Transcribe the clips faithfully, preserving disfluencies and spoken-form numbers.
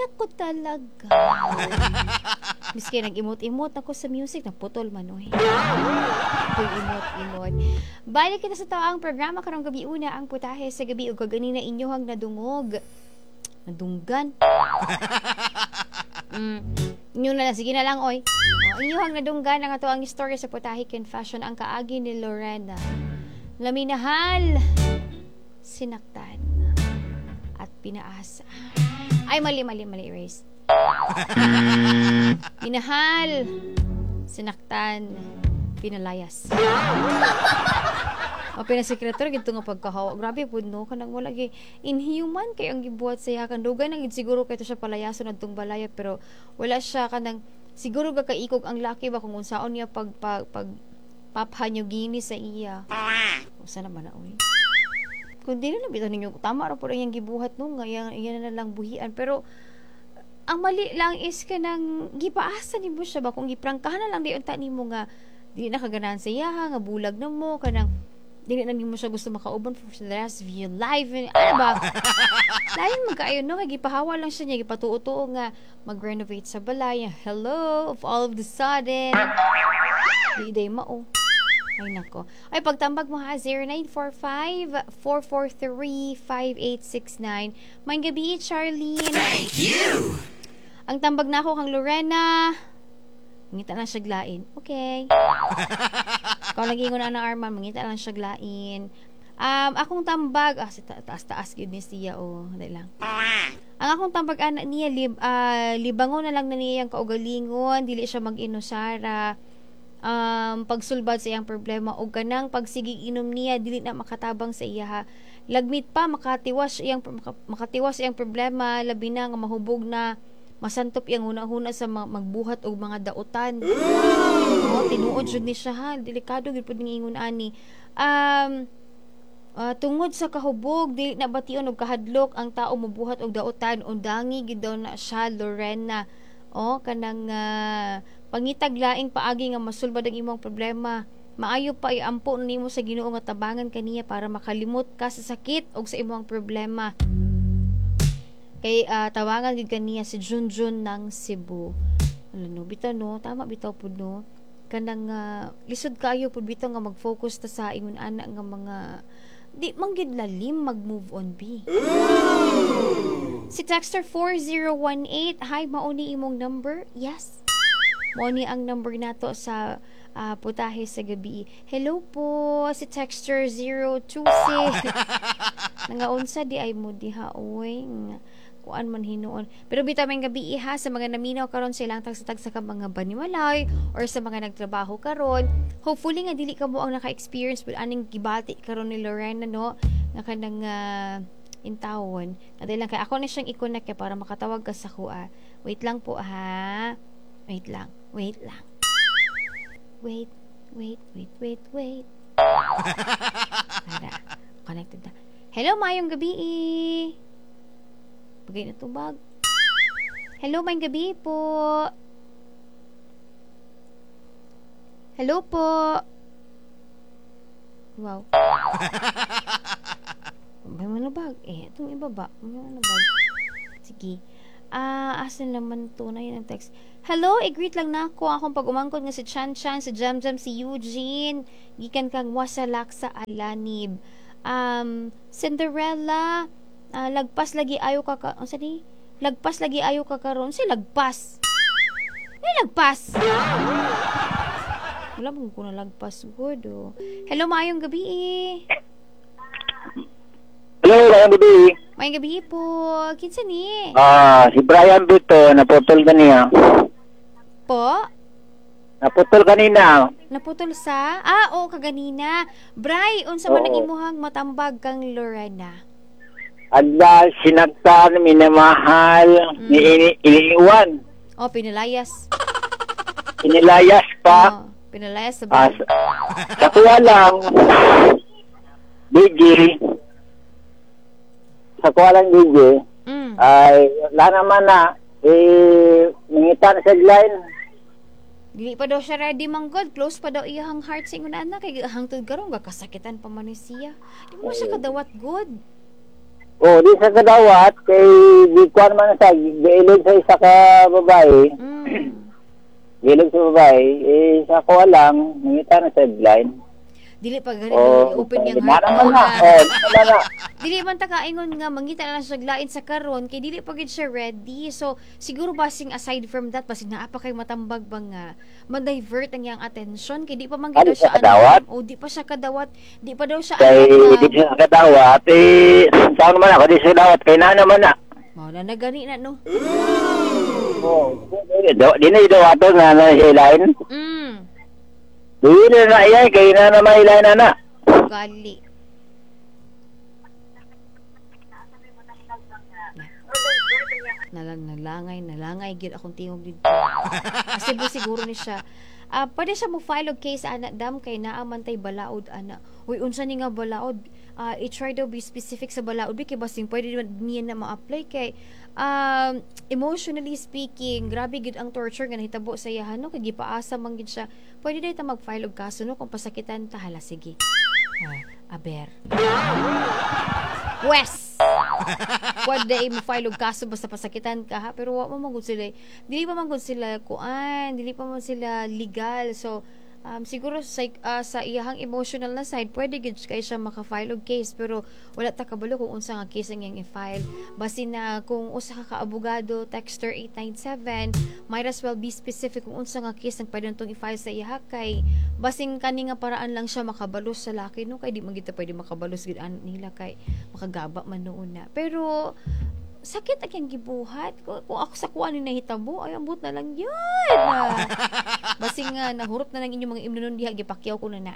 Nako talaga. Miski nag-imot-imot ako sa music, naputol man oy. Pag imot-imot. Balik kita sa tao ang programa karong gabi una ang putahe sa gabi ug kaganina inyohang nadungog. Nadunggan. Mm. Inyo na lang, sige na lang, oy. Oh, inyohang nadunggan ang ato ang istorya sa Putahe Confession, ang kaagi ni Lorena. Na minahal, sinaktan, at pinaasa. Ay, mali, mali, mali, erase. Minahal, sinaktan, pinalayas. O pinasekreto gito nga pagkahawa. Grabe pud no, kanang wala gyud inhuman kay ang gibuhat sa iya kan dugay nang gid siguro kay to siya palayason adtong balaya, pero wala siya kanang siguro gakaikog ang laki ba kung unsaon niya pag pag, pag Papua New Guinea sa iya. Usa naman na oy. Kung dili na bitaw ninyo tama ra pud ang iyang gibuhat no, nga iyang iya na lang buhian, pero ang mali lang is kanang gipaasa nimo siya ba, kung giprangkahan na lang di unta nimo nga di na kaganahan sa iyaha, nga bulag na mo, kanang dili na nimo siya gusto makauban for the rest of your life, ano ba, lain man kaayo no, kay gipahawa lang siya niya, gipatuo-tuo nga mag-renovate sa balay. Hello, of all of the sudden di day mao. Ay nako. Ay, pagtambag mo ha, zero nine four five, four four three, five eight six nine. Maayong gabi, Charlene. Thank you. Ang tambag na ako kang Lorena. Mangita lang siya lain. Okay. Ikaw lagi na na Arman, mangita lang siya lain. Um, akong tambag, ah, si ta- taas-taas gyud ni siya, oh, dali lang. Ang akong tambag ana niya, lib, ah, libangon na lang na niya ang kaugalingon, dili siya mag-inusara. Um, pagsulbad sa iyang problema o kanang pagsigig inom niya dili na makatabang sa iya ha. Lagmit pa makatiwas iyang maka, makatiwas iyang problema, labi na nga mahubog na masantop iyang huna-huna sa ma- magbuhat og mga dautan. Oh, tinuod jud ni siya ha. Delikado gyud pud ning ingon ani. Um ah, tungod sa kahubog, dili na bation og kahadlok ang tao mobuhat og dautan, undangi gid daw na siya, Lorena. Oh, kanang uh, pangitag laing paagi nga masulbad ang imong problema. Maayo pa iampo nimo sa Ginoo nga tabangan kaniya para makalimot ka sa sakit og sa imong problema. Kay uh, tawangan gid kaniya si Junjun ng Cebu. Ano no, bitaw no, tama bitaw pud no. Kanang uh, lisod kaayo pud bitaw nga mag-focus ta sa ingon ana nga mga di man gid lalim mag-move on bi. Si texter four zero one eight, hi, mao ni imong number? Yes. Mao ni ang number nato sa ah, putahe sa gabi. Hello po, si texter zero two six. Nangaunsa di ay mo diha oy. Nga, kuan man hinuon. Pero bitaw, maayong gabi ha sa mga naminaw karon sa ilang tagsa-tagsa ka mga banimalay or sa mga nagtrabaho karon. Hopefully nga dili ka mo ang naka-experience with aning gibati karon ni Lorena no, nga kanang uh, intawon. Kadali lang kay ako na siyang i-connect kay para makatawag ka sa kuha. Wait lang po ha. Wait lang. Wait lang. Wait, wait, wait, wait, wait. Para connected na. Hello, maayong gabi. Bagay na tubag. Hello, maayong gabi po. Hello po. Wow. May mga bag. Eh, itong ibaba. May mga bag. Sige. Ah, asa naman to na yun ang text. Hello, i-greet lang na ako akong pag-umangkot nga si Chan Chan, si Jam Jam, si Eugene. Gikan kang Wasalak sa Alanib. Um, Cinderella, ah, lagpas lagi ayo ka ka, unsa ni? Lagpas lagi ayo ka karon. Si lagpas. May lagpas. Wala mo ko na lagpas good oh. Hello, maayong gabi eh. Hello, maayong gabi. Maayong gabi po. Kinsa ni? Ah, si Brian Bito, naputol kaniya. Po? Naputol kanina. Naputol sa? Ah, oo, kaganina. Bray, unsa man ang Oo. imuhang matambag kang Lorena? Adla, sinaktan, minamahal, Mm. ni ini iniiwan. Oh, pinalayas. Inilayas pa. Oh, pinalayas sa Ah, balay. sa, sa kuha lang, D J, sa kuha lang, D J, Mm. ay, wala naman na, eh, nangita na sa line. Dili pa daw siya ready manggod. Close pa daw iyang heart sa ingon ana kay hangtod karon gakasakitan pa man ni siya. Di mo siya kadawat good. Oh, di sa kadawat kay gikuan man sa giilog sa isa ka babae. Mm. Giilog sa babae, eh sa ko lang mangita na sa blind. Dili pa gani Oh, open niyang na heart. naman na. Oh, na na. Dili man ta kaingon nga mangita na lang siya lain sa karon kay dili pa gid siya ready. So siguro basing aside from that, basing naa pa kay matambag ba nga ma-divert ang iyang attention kay di pa man gid Ah, daw di siya siya kadawat? O di pa siya kadawat, di pa daw siya Kay anak di nga. siya kadawat, eh saan man ako di siya kadawat kay na naman na. Mao na na gani na, no. Oh, di na idawato nga na siya ilain. Mm. Di na na iya kay na naman ilain na na. Gali. Nalang nalangay, nalangay gid akong tingog dito. Kasi bu siguro ni siya. Ah, pwede siya mo file og case ana, dam, kay naa man tay balaod ana. Uy, unsa ni nga balaod? Ah, i-try daw be specific sa balaod bi kay basing pwede man niya na ma-apply kay um, emotionally speaking, grabe gid ang torture nga nahitabo sa iya, no, kay gipaasa man gid siya. Pwede day ta mag-file og kaso, no, kung pasakitan ta, hala, sige. Ah, aber. Wes. Pwede mo file og kaso basta pasakitan ka, ha, pero wa man gud sila, dili pa man gud sila kuan, dili pa man sila legal. So um, siguro sa ah, sa iyahang emotional na side, pwede gid kay siya maka-file og case, pero wala ta kabalo kung unsa nga case ang iyang i-file. Basin na kung usa ka ka-abogado, texter eight nine seven, might as well be specific kung unsa nga case ang pwede natong i-file sa iyaha kay basing kani nga paraan lang siya makabalos sa laki, no, kay di man gid ta pwede makabalos gid an nila kay makagaba man noon na. Pero sakit ang iyang gibuhat. Kung, kung ako sa kuan ni nahitabo, ay, ambot na lang yun. Ah, basing nga nahurot na lang inyong mga imnonon diha, gipakyaw ko na na.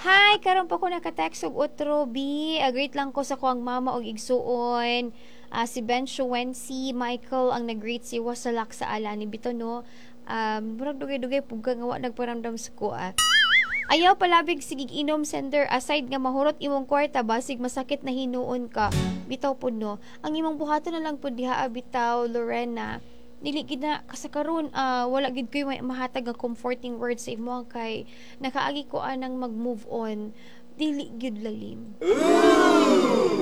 Hi, karon pa ko naka-text og otro B. Uh, greet lang ko sa kuang mama og igsuon. Ah, si Ben Shuensi, Michael ang nag-greet si Wasalak sa ala ni Bito, no. Um, murag dugay-dugay pug ka nga wa nagparamdam sa kuha. Ayaw palabig sigig inom, sender, aside nga mahurot imong kwarta, basig masakit na hinuon ka. Bitaw pud, no. Ang imong buhaton na lang pud diha, ah, bitaw, Lorena. Dili gid na kasa karon, ah, wala gid koy may mahatag nga comforting words sa imo kay nakaagi ko anang mag-move on. Dili gyud lalim.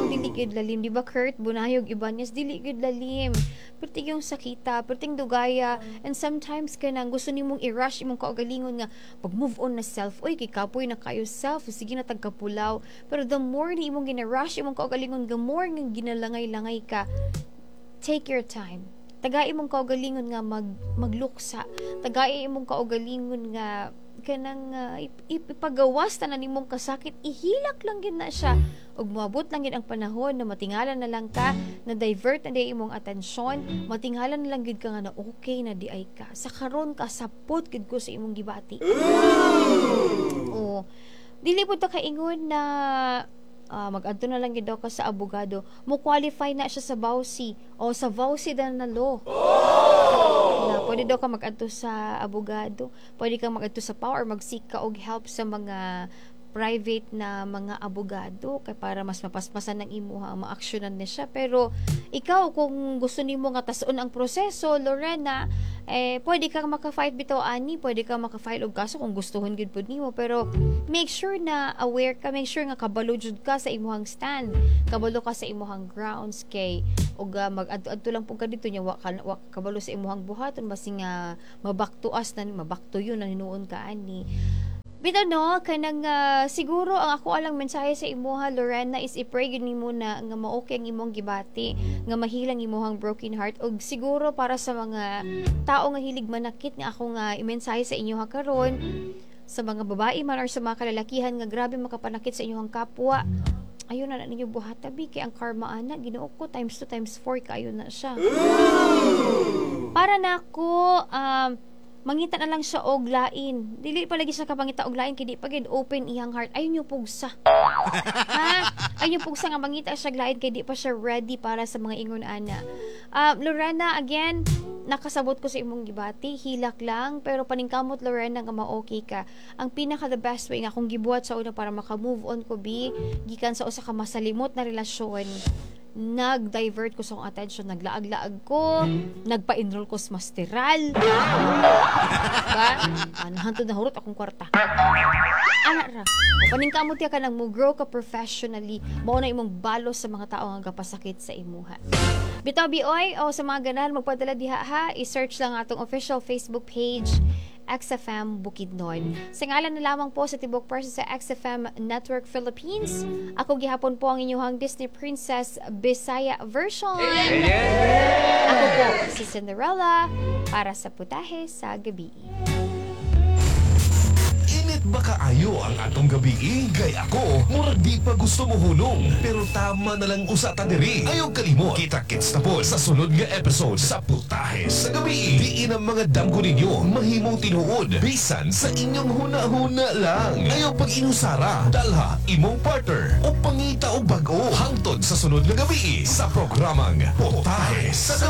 Dili gyud lalim, di ba, Kurt Bunayog Ibanez? Dili gyud lalim. Perting yung sakita, perting dugaya, and sometimes kanang gusto nimong i-rush imong kaugalingon nga pag move on na self. Oy, kay kapoy na kayo self, sige na tagkapulaw. Pero the more ni imong gina-rush imong kaugalingon, the more nga ginalangay-langay ka. Take your time. Tagai imong kaugalingon nga mag magluksa. Tagai imong kaugalingon nga kanang uh, ip- ip- ipagawas tanan nimong kasakit, ihilak lang gid na siya. Ug moabot lang gid ang panahon na matingala na lang ka, na divert na di imong atensyon, matingala na lang gid ka nga na okay na di ay ka. Sa karon kasapot gid ko sa imong gibati. O dili pud ta kaingon na ah, mag-adto na lang gid daw ka sa abogado. Mo qualify na siya sa V A W C o sa V A W C na na law na pwede daw ka mag-adto sa abogado, pwede kang mag-adto sa P A W or mag-seek ka og help sa mga private na mga abogado kay para mas mapaspasan ng imuha ang maaksyonan ni siya. Pero ikaw, kung gusto nimo nga tas-on ang proseso, Lorena, eh pwede kang maka-fight bitaw ani, pwede kang maka-file og kaso kung gustuhon gyud pud nimo, pero make sure na aware ka, make sure nga kabalo jud ka sa imuhang stand, kabalo ka sa imuhang grounds kay og uh, mag-adto-adto lang pud ka dito nya wa ka wa ka kabalo sa imuhang buhaton, basin nga mabaktuas na mabakto yun na hinuon ka ani. Bitaw, no, kanang ah, siguro ang ako alang mensahe sa imuha, Lorena, is i-pray gyud nimo na nga ma-okay ang imong gibati, nga mahilang imuhang broken heart. Og siguro para sa mga tao nga hilig manakit nga ako nga imensahe sa inyo ha karon, sa mga babae man or sa mga kalalakihan nga grabe makapanakit sa inyong kapwa, ayun na na ninyo buhata bi kay ang karma ana, Ginoo ko, times two times four kayo na siya. Para nako, um, mangita na lang siya og lain. Dili pa lagi siya kapangita og lain kay di pa gid open iyang heart. Ayun yung pugsa. Ha? Ayun yung pugsa nga mangita siya og lain kay di pa siya ready para sa mga ingon ana. Um, Lorena, again, nakasabot ko sa imong gibati, hilak lang, pero paningkamot, Lorena, nga ma-okay ka. Ang pinaka the best way nga akong gibuhat sa una para maka-move on ko bi, gikan sa usa ka masalimot na relasyon, Nag-divert ko sa akong attention, naglaag-laag ko, nagpa-enroll ko sa masteral. Ba? Ah, nahantod na hurot akong kwarta. Ana ra. O paningkamot ya ka nang mo grow ka professionally, mao na imong balos sa mga tao nga gapasakit sa imuha. Bitaw bioy o sa mga ganahan magpadala diha ha, i-search lang atong official Facebook page X F M Bukidnon. Sa ngalan na lamang po sa tibok person sa X F M Network Philippines, ako gihapon po ang inyong Disney Princess Bisaya version. Ako po si Cinderella para sa Putahe sa Gabi. Init ba kaayo ang atong gabi? Gay ako, murag di pa gusto mo hunong. Pero tama na lang usa ta diri. Ayaw kalimot. Kita-kits na po sa sunod nga episode sa Putahe sa Gabi. Diin ang mga damgo ninyo mahimong tinuod. Bisan sa inyong huna-huna lang. Ayaw pag inusara. Dalha imong partner o pangita og bag-o. Hangtod sa sunod nga gabi sa programang Putahe sa Gabi.